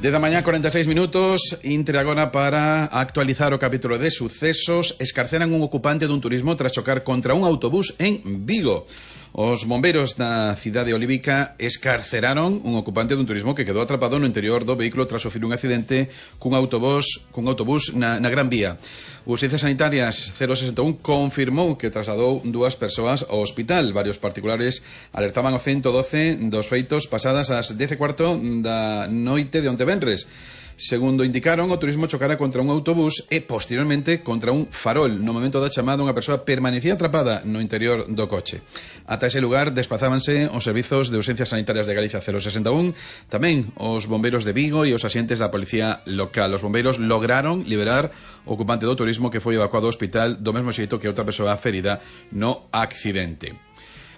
10 da mañá, 46 minutos, Intre agora para actualizar o capítulo de sucesos. Escarceran un ocupante dun turismo tras chocar contra un autobús en Vigo. Os bombeiros da cidade olívica escarceraron un ocupante dun turismo que quedou atrapado no interior do vehículo tras sufrir un accidente cun autobús na Gran Vía. Urxencias Sanitarias 061 confirmou que trasladou dúas persoas ao hospital. Varios particulares alertaban ao 112 dos feitos pasadas as 10:15 da noite de onte venres. Segundo indicaron, o turismo chocara contra un autobús e posteriormente contra un farol. No momento da chamada, unha persoa permanecía atrapada no interior do coche. Ata ese lugar desplazábanse os servizos de urxencias sanitarias de Galicia 061, tamén os bombeiros de Vigo e os axentes da policía local. Os bombeiros lograron liberar o ocupante do turismo que foi evacuado ao hospital do mesmo xeito que outra persoa ferida no accidente.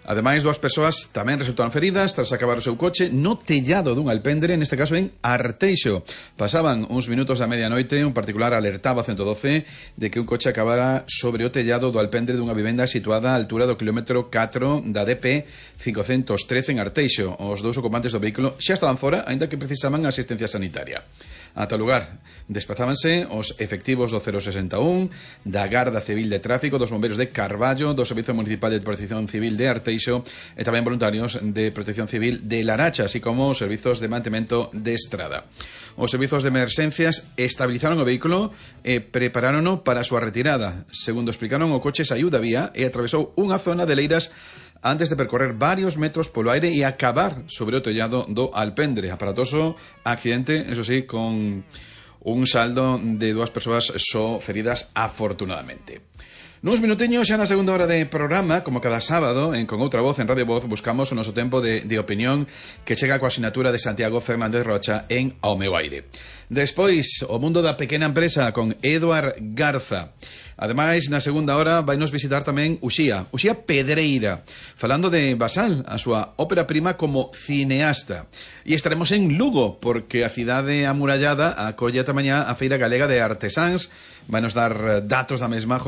Ademais, dúas persoas tamén resultaron feridas tras acabar o seu coche no tellado dun alpendre, neste caso en Arteixo. Pasaban uns minutos da medianoite, un particular alertaba ao 112 de que un coche acabara sobre o tellado do alpendre dunha vivenda situada á altura do kilómetro 4 da DP 513 en Arteixo. Os dous ocupantes do vehículo xa estaban fora, aínda que precisaban asistencia sanitaria. Ata o lugar desplazábanse os efectivos do 061, da Garda Civil de Tráfico, dos bombeiros de Carballo, do Servizo Municipal de Protección Civil de Arteixo e tamén voluntarios de Protección Civil de Laracha, así como os servizos de mantemento de estrada. Os servizos de emerxencias estabilizaron o vehículo e preparárono para a súa retirada. Segundo explicaron, o coche saiu da vía e atravesou unha zona de leiras antes de percorrer varios metros polo aire e acabar sobre o tellado do alpendre. Aparatoso accidente, eso sí, con un saldo de dúas persoas só feridas afortunadamente. Nuns minuteños xa na segunda hora de programa, como cada sábado, Con Outra Voz, en Radio Voz, buscamos o noso tempo de opinión que chega coa sinatura de Santiago Fernández Rocha en Ao Meu Aire. Despois, o mundo da pequena empresa con Eduard Garza. Ademais, na segunda hora vainos visitar tamén Uxía Pedreira, falando de Basal, a súa ópera prima como cineasta. E estaremos en Lugo, porque a cidade amurallada acolle ata mañá a Feira Galega de Artesáns. Vainos dar datos da mesma José